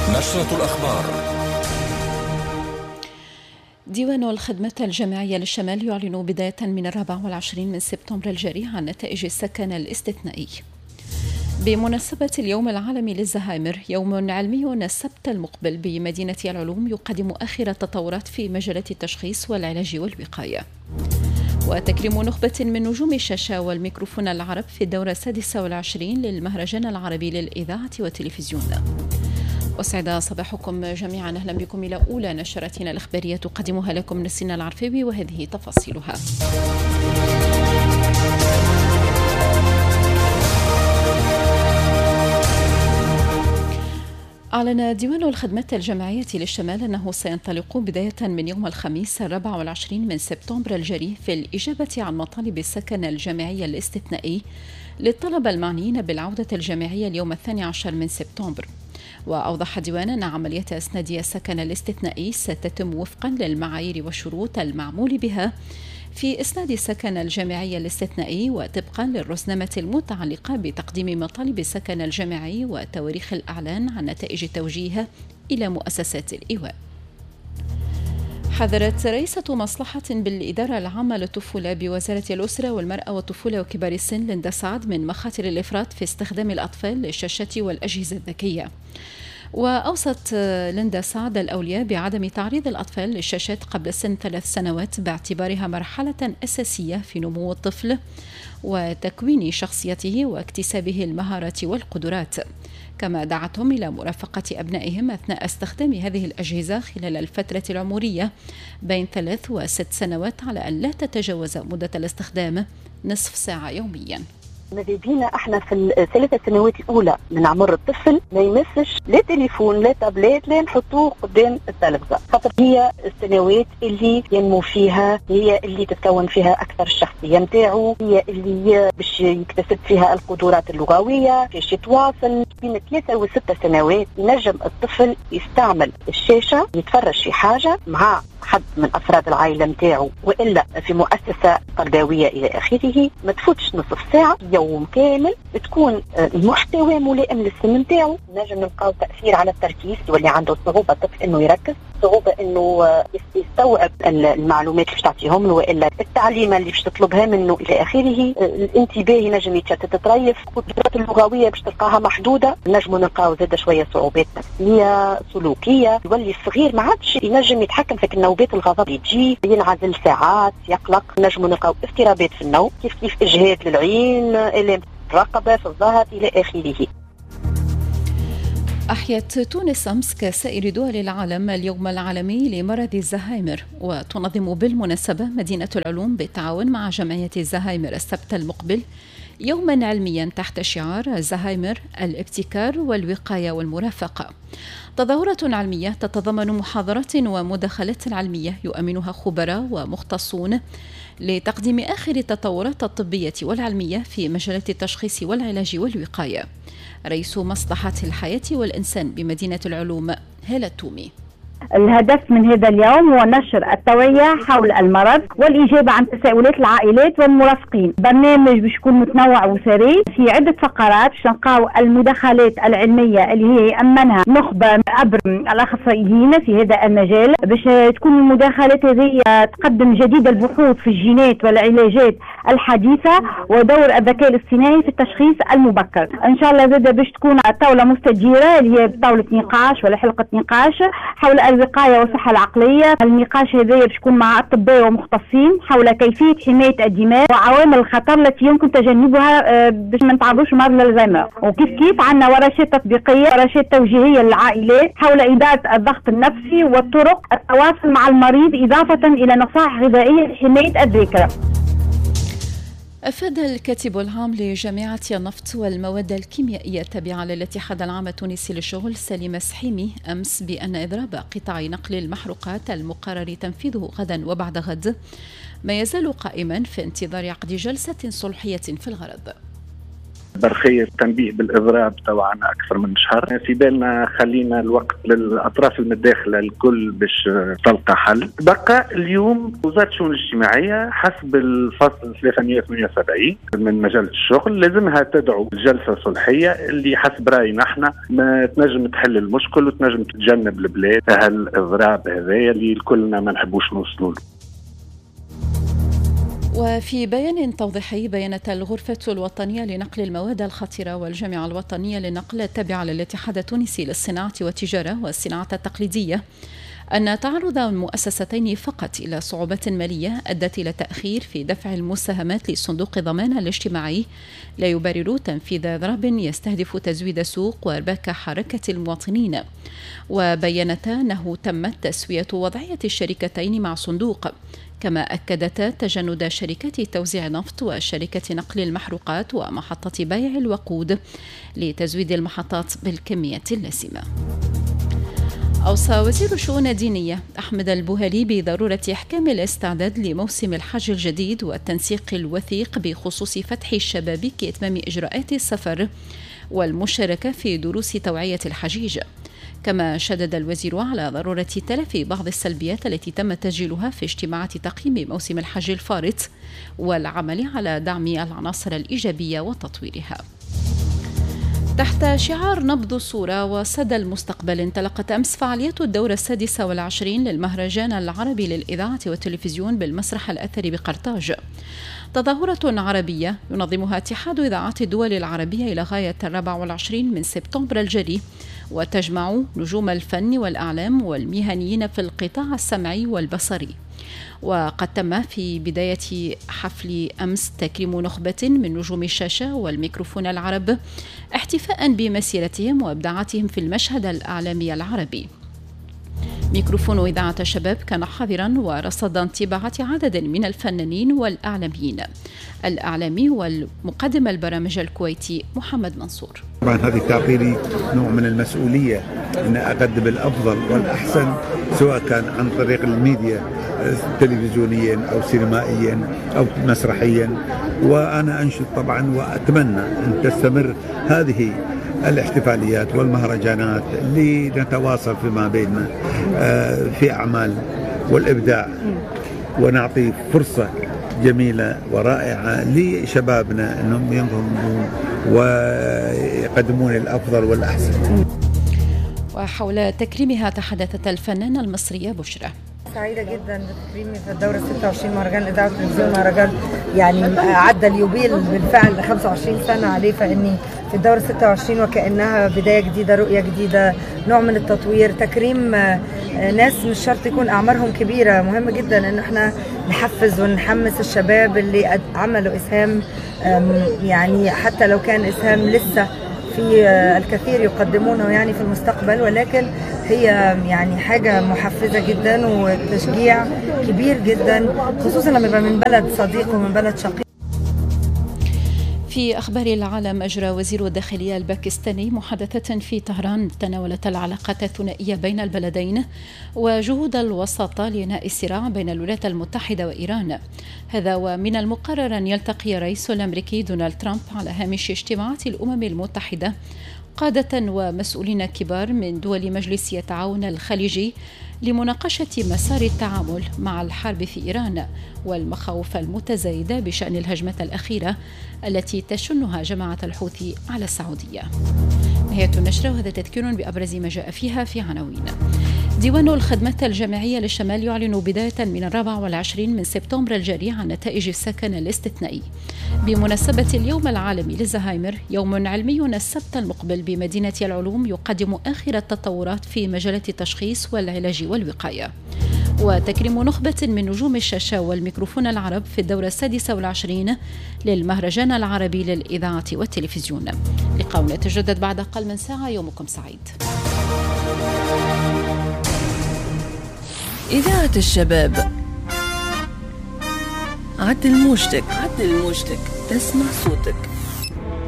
نشرة الأخبار. ديوان الخدمات الجامعية للشمال يعلن بداية من 24 من سبتمبر الجاري عن نتائج السكن الاستثنائي. بمناسبة اليوم العالمي للزهايمر، يوم علمي السبت المقبل بمدينة العلوم يقدم آخر التطورات في مجالات التشخيص والعلاج والوقاية. وتكريم نخبة من نجوم الشاشة والميكروفون العرب في الدورة 26 للمهرجان العربي للإذاعة والتلفزيون. أسعد صباحكم جميعا، أهلا بكم إلى أولى نشرتنا الإخبارية تقدمها لكم نسينا العرفاوي وهذه تفاصيلها. أعلن ديوان الخدمات الجامعية للشمال أنه سينطلق بداية من يوم الخميس 24 من سبتمبر الجاري في الإجابة عن مطالب السكن الجامعي الاستثنائي للطلبة المعنيين بالعودة الجامعية اليوم 12 من سبتمبر. وأوضح الديوان أن عملية إسناد السكن الاستثنائي ستتم وفقا للمعايير والشروط المعمول بها في إسناد السكن الجامعي الاستثنائي وطبقا للرزنامة المتعلقة بتقديم مطالب السكن الجامعي وتواريخ الإعلان عن نتائج التوجيه إلى مؤسسات الإيواء. حذرت رئيسة مصلحة بالإدارة العامة للطفولة بوزارة الأسرة والمرأة والطفولة وكبار السن ليندا سعد من مخاطر الإفراط في استخدام الأطفال للشاشات والأجهزة الذكية. وأوصت ليندا سعد الأولياء بعدم تعريض الأطفال للشاشات قبل سن 3 سنوات باعتبارها مرحلة أساسية في نمو الطفل وتكوين شخصيته واكتسابه المهارات والقدرات. كما دعتهم إلى مرافقة أبنائهم أثناء استخدام هذه الأجهزة خلال الفترة العمرية بين 3 و6 سنوات على أن لا تتجاوز مدة الاستخدام نصف ساعة يوميا. ماذا بينا احنا في ال3 سنوات الاولى من عمر الطفل ما يمسش لا تليفون لا تابلت لا نحطوه قدام التلفزة، خاطر هي السنوات اللي ينمو فيها، هي اللي تتكون فيها اكثر الشخصية نتاعو، هي اللي باش يكتسب فيها القدرات اللغوية، باش يتواصل. بين 3 و6 سنوات ينجم الطفل يستعمل الشاشة، يتفرج في حاجة مع حد من افراد العائلة نتاعو والا في مؤسسة تربوية الى اخره، ما تفوتش نصف ساعة يوم كامل، تكون المحتوى ملائم للسن نتاعو. نجم نلقاو تاثير على التركيز، يولي عنده صعوبة الطفل انه يركز، صعوبة انه يستوعب المعلومات اللي باش تعطيهم له والا التعليمه اللي باش تطلبها منه الى اخره. الانتباه ينجم يتشتت تريف، القدرات اللغوية باش تلقاها محدودة، نجموا نلقاو زاده شوية صعوبات نفسية سلوكية، يولي الصغير ما عادش ينجم يتحكم في النوبات الغضب اللي تجي، ينعزل ساعات، يقلق. نجموا نلقاو اضطرابات في النوم، كيف كيف اجهاد للعين، الام الرقبة، في الظهر الى اخره. أحيت تونس أمس كسائر دول العالم اليوم العالمي لمرض الزهايمر، وتنظم بالمناسبة مدينة العلوم بالتعاون مع جمعية الزهايمر السبت المقبل يوما علميا تحت شعار الزهايمر الابتكار والوقاية والمرافقة. تظاهرة علمية تتضمن محاضرات ومداخلات علمية يؤمنها خبراء ومختصون لتقديم آخر التطورات الطبية والعلمية في مجالات التشخيص والعلاج والوقاية. رئيس مصلحة الحياة والإنسان بمدينة العلوم هالة التومي. الهدف من هذا اليوم هو نشر التوعية حول المرض والإجابة عن تساؤلات العائلات والمرافقين. برنامج باش يكون متنوع وثري في عدة فقرات، باش نلقاو المداخلات العلمية اللي هي يأمنها نخبة عبر الأخصائيين في هذا المجال، باش تكون المداخلات هذه تقدم جديد البحوث في الجينات والعلاجات الحديثة ودور الذكاء الاصطناعي في التشخيص المبكر. إن شاء الله زادة باش تكون طاولة مستديرة اللي هي طاولة نقاش ولا حلقة نقاش حول الوقاية والصحة العقلية. النقاش هذا باش يكون مع أطباء ومختصين حول كيفية حماية الدماغ وعوامل الخطر التي يمكن تجنبها باش ما نتعرضوش لمرض الزهايمر. وكيف كيف عندنا ورشات تطبيقية، ورشات توجيهية للعائلات حول إدارة الضغط النفسي وطرق التواصل مع المريض، إضافة إلى نصائح غذائية لحماية الذاكرة. أفاد الكاتب العام لجامعة النفط والمواد الكيميائية التابعة للاتحاد العام التونسي للشغل سليم سحيمي أمس بأن إضراب قطاع نقل المحروقات المقرر تنفيذه غدا وبعد غد ما يزال قائما في انتظار عقد جلسة صلحية في الغرض. برقية تنبيه بالإضراب طبعا أكثر من شهر. في بالنا خلينا الوقت للأطراف المتداخلة الكل باش تلقى حل. بقى اليوم وزارة الشؤون الاجتماعية حسب الفصل 378 من مجلة الشغل لازمها تدعو الجلسة الصلحية اللي حسب رأينا احنا ما تنجم تحل المشكل وتنجم تتجنب البلاد هالإضراب هذايا اللي كلنا ما نحبوش نوصلوا له. وفي بيان توضيحي بينت الغرفة الوطنية لنقل المواد الخطرة والجامعة الوطنية للنقل التابعة للاتحاد التونسي للصناعة والتجارة والصناعة التقليدية أن تعرض المؤسستين فقط إلى صعوبات مالية أدت إلى تأخير في دفع المساهمات لصندوق الضمان الاجتماعي لا يبرر تنفيذ إضراب يستهدف تزويد السوق وإرباك حركة المواطنين. وبينتا أنه تمت تسوية وضعية الشركتين مع صندوق، كما أكدتا تجند شركات توزيع النفط وشركة نقل المحروقات ومحطة بيع الوقود لتزويد المحطات بالكمية اللازمة. أوصى وزير الشؤون الدينية أحمد البوهالي بضرورة إحكام الاستعداد لموسم الحج الجديد والتنسيق الوثيق بخصوص فتح الشبابيك إتمام إجراءات السفر والمشاركة في دروس توعية الحجيج. كما شدد الوزير على ضرورة تلافي بعض السلبيات التي تم تسجيلها في اجتماعات تقييم موسم الحج الفارط والعمل على دعم العناصر الإيجابية وتطويرها. تحت شعار نبض الصورة وصدى المستقبل انطلقت أمس فعاليات الدورة 26 للمهرجان العربي للإذاعة والتلفزيون بالمسرح الأثري بقرطاج. تظاهرة عربية ينظمها اتحاد إذاعات الدول العربية إلى غاية 24 من سبتمبر الجاري، وتجمع نجوم الفن والأعلام والمهنيين في القطاع السمعي والبصري. وقد تم في بداية حفل أمس تكريم نخبة من نجوم الشاشة والميكروفون العرب احتفاء بمسيرتهم وإبداعاتهم في المشهد الإعلامي العربي. ميكروفون إذاعة الشباب كان حاضرا ورصد انطباعات عدد من الفنانين والإعلاميين. الإعلامي والمقدم البرامج الكويتي محمد منصور. طبعا هذه تعطيني نوع من المسؤولية أن أقدم الأفضل والأحسن، سواء كان عن طريق الميديا تلفزيونيا أو سينمائيا أو مسرحيا. وأنا أنشد طبعا وأتمنى أن تستمر هذه الاحتفاليات والمهرجانات لنتواصل فيما بيننا في أعمال والإبداع، ونعطي فرصة جميلة ورائعة لشبابنا أنهم ينضمون ويقدمون الأفضل والأحسن. وحول تكريمها تحدثت الفنانة المصرية بشرى. سعيدة جدا بتكريمي في الدورة 26 مهرجان الإذاعة والتلفزيون، مهرجان يعني عدى اليوبيل بالفعل 25 سنة عليه، فإني في الدورة 26 وكأنها بداية جديدة، رؤية جديدة، نوع من التطوير، تكريم ناس مش شرط يكون أعمارهم كبيرة. مهم جدا إن احنا نحفز ونحمس الشباب اللي عملوا إسهام، يعني حتى لو كان إسهام لسه في الكثير يقدمونه يعني في المستقبل، ولكن هي يعني حاجة محفزة جدا وتشجيع كبير جدا، خصوصا لما يبقى من بلد صديق ومن بلد شقيق. في أخبار العالم، أجرى وزير الداخلية الباكستاني محادثة في طهران تناولت العلاقات الثنائية بين البلدين وجهود الوساطة لإنهاء الصراع بين الولايات المتحدة وإيران. هذا ومن المقرر أن يلتقي الرئيس الأمريكي دونالد ترامب على هامش اجتماعات الأمم المتحدة قادة ومسؤولين كبار من دول مجلس التعاون الخليجي لمناقشة مسار التعامل مع الحرب في إيران والمخاوف المتزايدة بشأن الهجمة الأخيرة التي تشنها جماعة الحوثي على السعودية. نهاية النشرة، وهذا تذكير بأبرز ما جاء فيها في عناوين. ديوان الخدمات الجامعية للشمال يعلن بداية من 24 من سبتمبر الجاري عن نتائج السكن الاستثنائي. بمناسبة اليوم العالمي للزهايمر، يوم علمي السبت المقبل بمدينة العلوم يقدم آخر التطورات في مجالات التشخيص والعلاج والوقاية. وتكريم نخبة من نجوم الشاشة والميكروفون العرب في الدورة 26 للمهرجان العربي للإذاعة والتلفزيون. لقاؤنا يتجدد بعد أقل من ساعة. يومكم سعيد. إذاعة الشباب، عدل موجتك، عدل موجتك، تسمع صوتك.